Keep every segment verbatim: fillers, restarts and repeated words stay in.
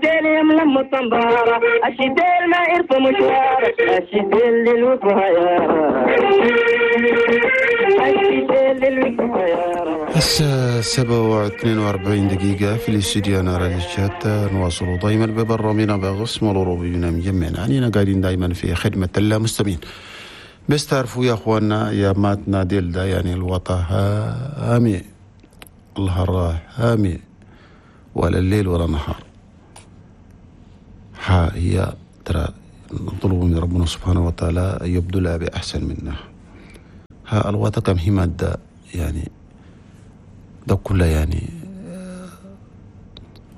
الشتيل يملم الطنبارة، الشتيل ما يرفع مشوار، الشتيل للوفايا، الشتيل للوفايا. الساعة سبعة واثنين وأربعين دقيقة في الاستديو أنا راديو الشات. نواصل دائما ببرنامجنا بغصم الأوروبي بنا مجمعنا عنينا قاعدين دائما في خدمة المستمعين. بس تعرفوا يا أخواننا يا ماتنا ديل ده يعني الوطا هامي الهراء هامي ولا الليل ولا النهار. ها هي ترى نطلب من ربنا سبحانه وتعالى يبدلها بأحسن منها. ها الوطا كم هي مادة يعني ده كله يعني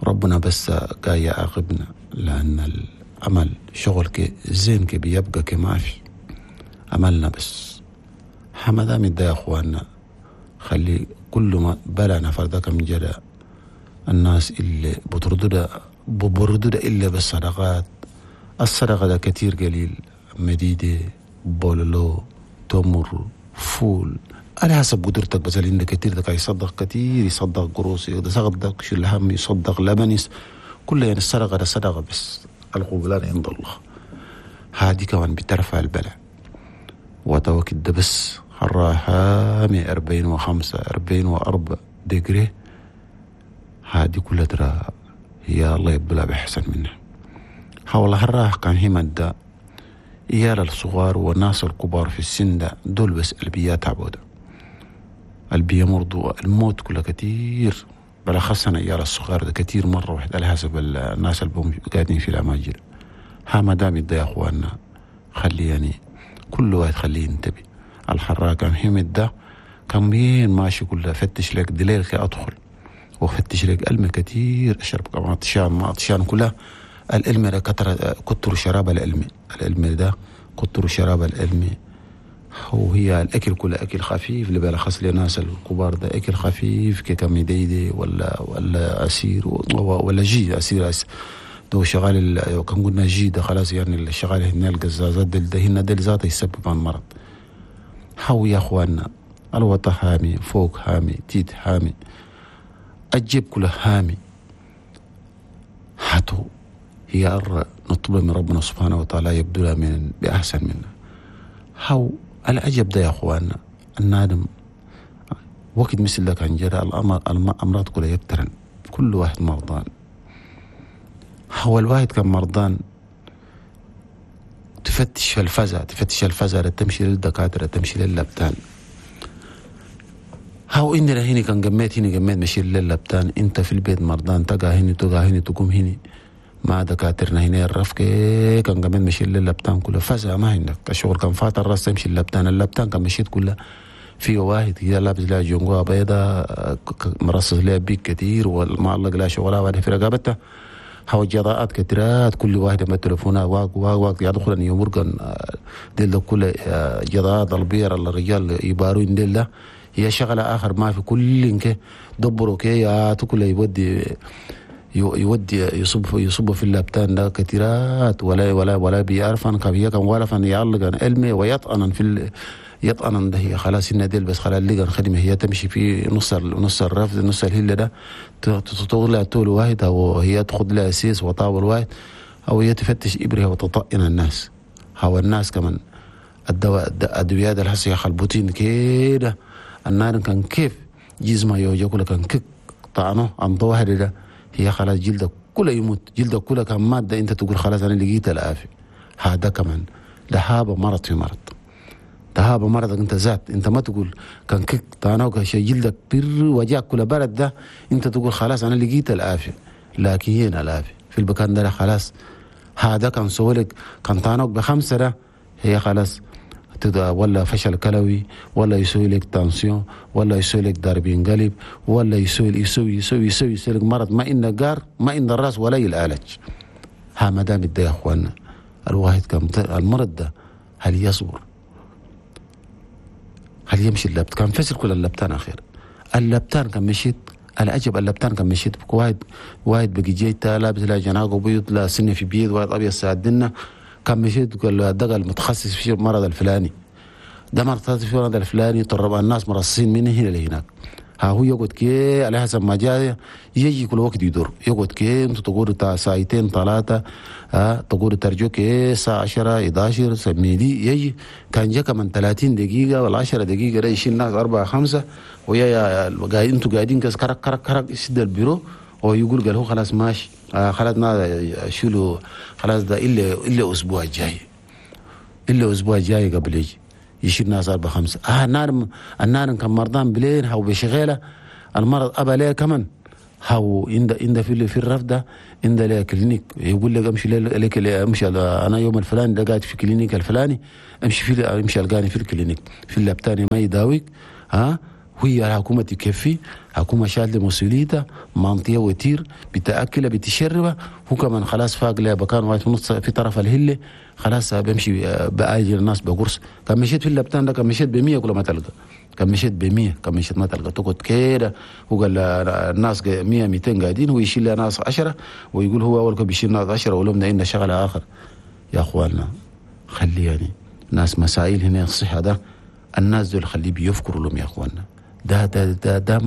ربنا بس جاي يعاقبنا لأن العمل شغل كي زين كي بيبقى كي ما في عملنا بس. حمدا ده يا أخواننا خلي كل ما بلا نفر ده كم جرى الناس اللي بتردد بردد إلا بالصدقات. الصدقة ده كتير قليل، مديدة، بولولو، تمر، فول، على حسب قدرتك. بس اللي عندك كتير ده يصدق كتير، يصدق قروس، يصدق شو الهم، يصدق لبن، كله يعني الصدقة ده صدقة بس القبلان عند الله. هذه كمان بترفع البلاء. وتوكد ده بس حراها أربعين وخمسة أربعين وأربع دقري، هذه كلها ترى هي الله يبلع بأحسن منها. حول هالراح كان هي مادة إيال الصغار والناس الكبار في السن ده دول بس البيات تعبوده البيا مرضوا الموت كله كتير، بالأخص أنا إيال الصغار ده كتير مرة واحدة على حسب الناس اللي قاعدين في الأماجر. ها ما دام يدي يا أخواننا خلي يعني كل واحد خليه ينتبه. الحراك كان همد ده كان مين ماشي كله فتش لك دليل كي أدخل وفتش لك ألم كتير أشرب كمان عطشان ما عطشان كلها العلم ده كتر كتر شراب العلم العلم ده كتر شراب العلم. هو هي الأكل كله أكل خفيف اللي بالأخص للناس الكبار ده أكل خفيف كمديدي ولا ولا أسير ولا جي أسير أسير دو شغال كان قلنا جي ده خلاص يعني الشغال هنا القزازات ده هنا ده ذاته يسبب المرض. حو يا أخواننا الوطا هامي فوق هامي تيت هامي الجيب كله هامي. حتو هي نطلب من ربنا سبحانه وتعالى يبدلها من بأحسن منا. هاو العجب ده يا أخواننا النادم وقت مثل ده كان جرى الأمراض كلها يكترن كل واحد مرضان. هو الواحد كان مرضان تفتش في الفزع تفتش الفزع تمشي للدكاترة تمشي للبتان. هاو إني هني كان جميت هني جميت مشي للبتان. أنت في البيت مرضان تقع هني تقع هني تقوم هني مع دكاترنا هنا الرفق كان جميت مشي للبتان كله فزع ما عندك الشغل كان فات الراس تمشي اللبتان اللبتان كان مشيت كله في واحد كده لابس لها جونجوا بيضة مرصص لها بيك كتير ومعلق لها شغلها واحدة في رقبته. هاو جراءات كتيرات كل واحدة ما تلفونها واق واق واق يدخل أن يمرقن ديل كل جراءات البير الرجال يبارون ديل هي شغلة آخر ما في كل إنك دبروا كي يا كل يودي يودي يصب يصب في اللبتان ده كتيرات ولا ولا ولا بيعرف أن كبيه كان ولا فن يعلق عن علمي ويطعن في ال... يطعن ده هي خلاص إن ديل بس خلاص اللي كان خدمة هي تمشي في نص نص الرفض نص الهلة ده تطول لها طول واحد أو هي تاخذ لها سيس وطاول واحد أو هي تفتش إبرها وتطئن الناس. هو الناس كمان الدواء الأدوية الحسية خلبوتين كده النار كان كيف جزمة يوجا كله كان كك طعنه عن واحد ده هي خلاص جلدك كله يموت جلدك كله كان مادة أنت تقول خلاص أنا لقيت العافية. هذا كمان لهابة مرض في مرض دهابة مرضك أنت ذات أنت ما تقول كان كك طعنه شيء جلدك بر وجاك كله برد ده أنت تقول خلاص أنا لقيت العافية لكن هنا العافية في المكان ده خلاص. هذا كان سولك كان طعنك بخمسة ده هي خلاص ولا فشل كلوي ولا يسوي لك تنسيون ولا يسوي لك ضربين قلب ولا يسوي يسوي يسوي يسوي, يسوي لك مرض ما إن جار ما إن الراس ولا يلعالج. ها ما دام ده يا اخوانا الواحد كان المرض ده هل يصبر؟ هل يمشي اللبت؟ كان فسر كل اللبتان اخير اللبتان كان مشيت العجب اللبتان كان مشيت واحد واحد بقي جيتا لابس لا جناقه بيض لا سنه في بيض واحد ابيض ساعدنا كان مشيت قال له ده المتخصص في المرض الفلاني ده مرض في المرض الفلاني طرب الناس مرصين من هنا لهناك. ها هو يقعد كي على حسب ما جاء يجي كل وقت يدور يقعد كي انت تقول تا ساعتين ثلاثة ها تقول ترجو كي الساعة عشرة إحدى عشر سميدي يجي كان جا كمان ثلاثين دقيقة ولا عشرة دقيقة يشيل ناس أربعة خمسة ويا يا انتوا قاعدين كس كرك كرك كرك يسد البيرو ويقول قال هو خلاص ماشي آه خلاص ما شيلوا خلاص ده إلا إلا أسبوع الجاي إلا أسبوع الجاي قبل يجي يشيل ناس أربعة خمسة. آه النار النار كان مرضان بلين هاو بشغالة المرض أبا ليه كمان هاو عند عند في في الرفدة عند ليه clinique يقول لك امشي لك امشي أنا يوم الفلاني ده قاعد في clinique الفلاني امشي في امشي ألقاني في ال clinique في اللابتاني ما يداويك. ها وهي الحكومة تكفي حكومة شالت مسؤوليتها منطية وتير بتأكله بتشربه هو كمان خلاص فاق لها بكان واحد في نص في طرف الهلة خلاص بمشي بأجل الناس بقرص. كان مشيت في اللبتان ده كان مشيت بمية كل ما تلقى كان مشيت بمية كان مشيت ما تلقى تقعد كده. هو قال الناس مية ميتين قاعدين هو يشيل لها ناس عشرة ويقول هو أول كان بيشيل ناس عشرة ولهم إن شغلة آخر. يا أخواننا خلي يعني ناس مسائل هنا الصحة ده الناس دول خليه بيفكروا لهم يا أخواننا ده ده ده ده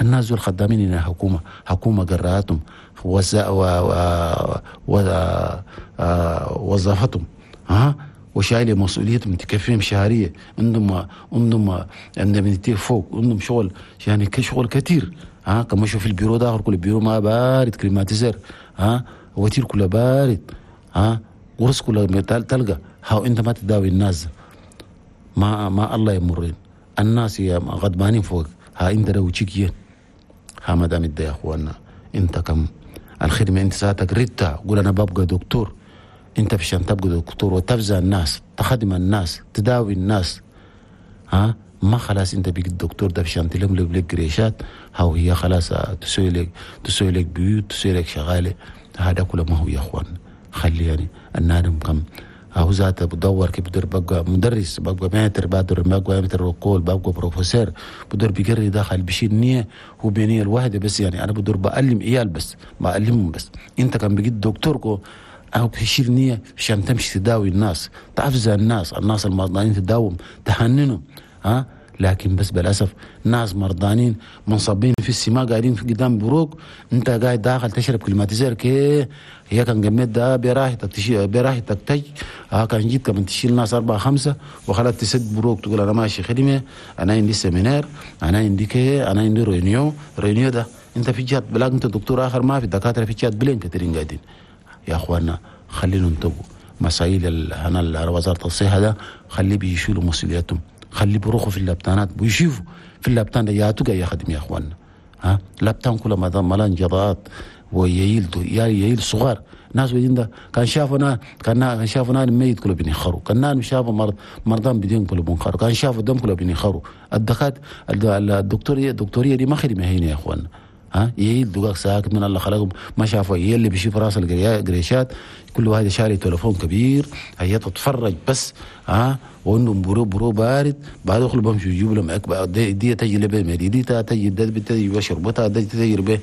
الناس دول خدامين هنا حكومة حكومة قراتهم وز و و وظافتهم ها وشايله مسؤوليتهم تكفيهم شهرية عندهم عندهم عندهم فوق عندهم شغل يعني شغل كثير ها كما شوف البيرو ده كل البيرو ما بارد climatiseur ها وتير كله بارد ها قرص كله تلقى ها انت ما تداوي الناس ما ما الله يمرين الناس يا غضبانين فوق ها انت لو تشيكين ها ما دام يا اخوانا انت كم الخدمة انت ساعتك ريتها قول انا ببقى دكتور انت عشان تبقى دكتور وتفزع الناس تخدم الناس تداوي الناس ها ما خلاص انت بيك الدكتور ده عشان تلم لك قريشات ها وهي خلاص تسوي لك تسوي لك بيوت تسوي لك شغالة هذا كله ما هو يا اخوان خلي يعني النادم كم هو ذاته بدور كيف بدور بقى مدرس بقى متر بدور بقى متر وقول بقى بروفيسور بدور بيقري داخل بشيل نية هو بنية الواحدة بس يعني أنا بدور بعلم عيال بس بعلمهم بس أنت كان بيجي دكتور كو أو بشيل نية عشان تمشي تداوي الناس تعفز الناس الناس المرضانين تداوم تحننهم ها لكن بس بالأسف ناس مرضانين منصبين في السماء قاعدين في قدام بروك انت قاعد داخل تشرب climatiseur كي هي كان قمت ده براحتك تشيل براحتك تج ها كان جيت كمان تشيل ناس أربعة خمسة وخلاص تسد بروك تقول أنا ماشي خدمة أنا عندي séminaire أنا عندي كي أنا عندي réunion réunion ده انت في جهة بلاك انت دكتور آخر ما في دكاترة في جهة بلين كثيرين قاعدين. يا أخوانا خلينا ننتبهوا مسائل هنا وزارة الصحة ده خليه بيشيلوا مسؤوليتهم خلي بروحوا في اللابتانات ويشوفوا في اللابتان ده يا تقى يا خدم يا اخوانا ها لابتان كله ما ملان جضات وييل يا ييل صغار ناس بدين ده كان شافوا نا كان شافوا نار ميت كله بينخروا كان نار شافوا مرض مرضان بدين كله بينخروا كان شافوا دم كله بينخروا الدكات الدكتوريه الدكتوريه دي ما خدمة هنا يا اخوانا ها ييل دقاق ساكت من الله خلقهم ما شافوا ييل اللي بيشوف راس القريشات كل واحد شاري تليفون كبير هي تتفرج بس ها وانهم برو برو بارد بعد يخلوا بمشوا يجيبوا لهم اكبر دي, دي تجي لبه دي تجي دي تجي بشربتها دي تجي ب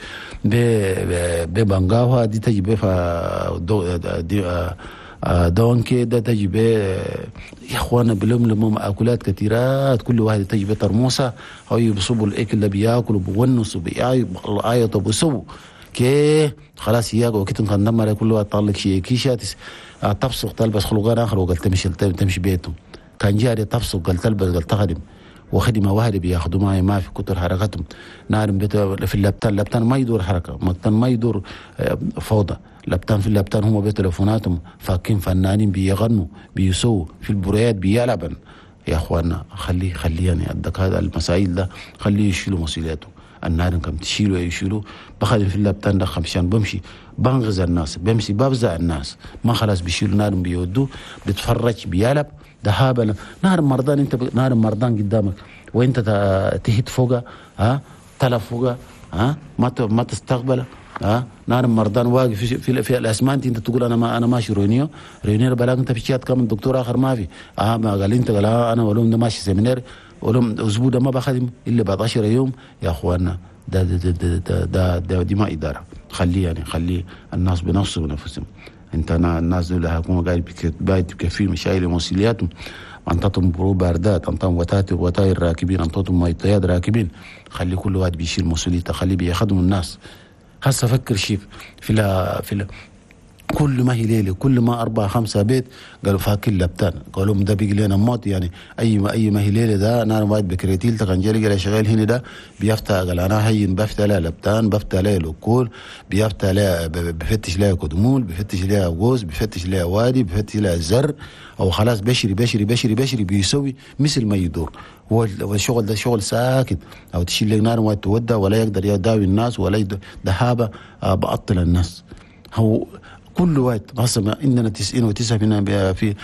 ببنغاوها دي تجي ب دي دونكي ده تجي ب يا اخوانا بلم لهم اكلات كثيرات كل واحد تجي بترموسه او يبصبوا الاكل اللي بياكلوا بونسوا بيعيطوا بيسووا كي خلاص ياك وقت كان دمر كل واحد طلق شيء كيشات تفسق تلبس خلقان اخر وقال تمشي تمشي بيتهم كان جاري تفسق قال تلبس قال تخدم وخدمه واحدة بياخذوا معي ما في كتر حركتهم نار في اللبتان اللبتان ما يدور حركة اللبتان ما يدور فوضى لبتان في اللبتان هم بتليفوناتهم فاكين فنانين بيغنوا بيسووا في البريات بيلعبن. يا اخوانا خليه خليه يعني الدك هذا المسائل ده خليه يشيلوا مسؤوليته النار كم تشيلوا يشيلوا بخدم في اللبتان ده خمشان بمشي بنغز الناس بمشي بفزع الناس ما خلاص بيشيلوا نار بيودوا بتفرج بيلعب ده هابل نار مرضان انت ب... نار مرضان قدامك وانت تهت فوقه ها تلف فوقه ها ما ت... ما تستقبله ها نار مرضان واقف في في, في الاسمنت انت تقول انا ما انا ماشي réunion réunion بلاك انت في شات كم دكتور اخر ما في اه ما قال انت قال آه انا ولوم ده ماشي séminaire ولوم اسبوع ده ما بخدم الا بعد عشرة يوم. يا اخوانا ده ده ده ده, ده, ده, ده دي ما ادارة. خليه يعني خليه الناس بنفسه بنفسهم. انت الناس دول هيكونوا قاعد بكفي مشايل مسؤولياتهم، انطتهم برو باردات، انطتهم وتات وتاير راكبين، انطتهم ميتياد راكبين. خلي كل واحد بيشيل مسؤوليته، خليه بيخدموا الناس. هسه فكر شيف في لا في لا كل ما هي ليلة كل ما اربعة خمسة بيت قالوا فاكين لبتان، قالوا ده بيجي لنا موت يعني. اي ما اي ما هي ليلة ده نار واحد بكريتيل تكنجري قال شغال هنا ده بيفتح قال انا هين بفتح لا لبتان، بفتح لا لوكول، بيفتح لا بفتش لا كدمول، بفتش لا غوز، بفتش لا وادي، بفتش لا زر، او خلاص بشري بشري بشري بشري بيسوي مثل ما يدور. هو الشغل ده شغل ساكت، او تشيل لك نار وتودى ولا يقدر يداوي الناس ولا دهابه بعطل الناس. هو كل وقت هسه عندنا تسعين وتسعة في في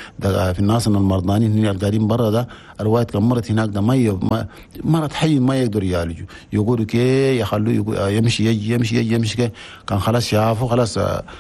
في الناس المرضانين هنا القاعدين برا ده الوقت كان مرت هناك ده ما مرض حي ما يقدر يعالجه، يقولوا كي يخلوه يمشي يجي يمشي يجي يمشي كي كان خلاص شافه خلاص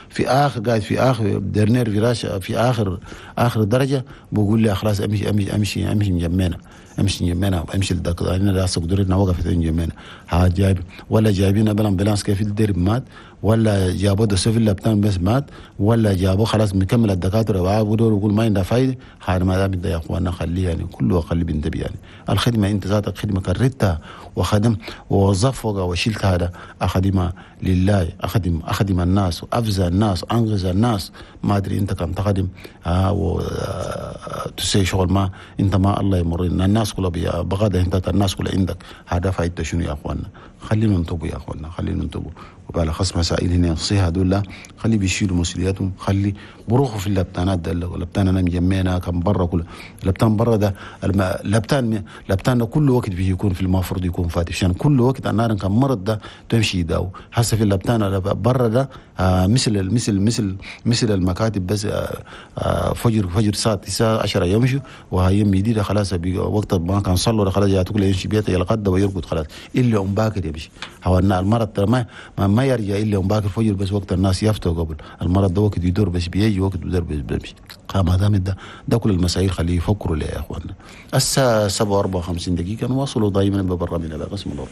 في اخر قاعد في اخر dernier virage في اخر اخر درجه، بقول لي خلاص امشي امشي امشي امشي مجمعنا امشي نجمعنا امشي للدكتور انا لا قدرتنا وقفت نجمعنا. ها جايب ولا جايبين بال ambulance كيف الدرب مات، ولا جابوا ده سفل لبتان بس مات، ولا جابوا خلاص مكمل الدكاترة وعابدوا ويقول ما عندها فايده. هذا ما دام يا اخوانا خليه يعني كله خليه بنتبه يعني الخدمة انت ذاتك خدمة كررتها وخدم ووظف وشلت هذا اخدمها لله، اخدم اخدم الناس وافزع الناس انغز الناس. ما ادري انت كم تخدم ها وتسوي شغل ما انت ما الله يمرنا الناس كلها بغدا انت الناس كلها عندك. هذا فايدته شنو يا اخوانا؟ خلينا ننتبه يا اخوانا، خلينا ننتبه. وبعد خص مسائل هنا نصيحة دول خلي بيشيلوا مسؤولياتهم، خلي بروحوا في اللبتانات ده اللبتان انا مجمعنا كان برا كله اللبتان برا ده اللبتان اللبتان كل وقت بيكون في المفروض يكون فاتح عشان كل وقت النار كان مرض ده تمشي يداو. هسه في اللبتان برا ده آه مثل مثل مثل مثل المكاتب بس آه آه فجر فجر الساعة تسعة عشرة يمشوا وهي يدي خلاص وقت ما كان صلوا خلاص ياتوا يمشي بيته يلقد ويرقد خلاص الا ام باكر يمشي. هو المرض ما ما يرجع الا ام باكر فجر بس وقت الناس يفتوا قبل المرض ده وقت يدور بس بيجي وقت يدور بس بيمشي. ما دام ده ده كل المسائل خليه يفكروا ليه يا اخوانا. الساعة سبعة وأربعة وخمسين دقيقة نواصلوا دائما ببرنامجنا بقسم الأرض.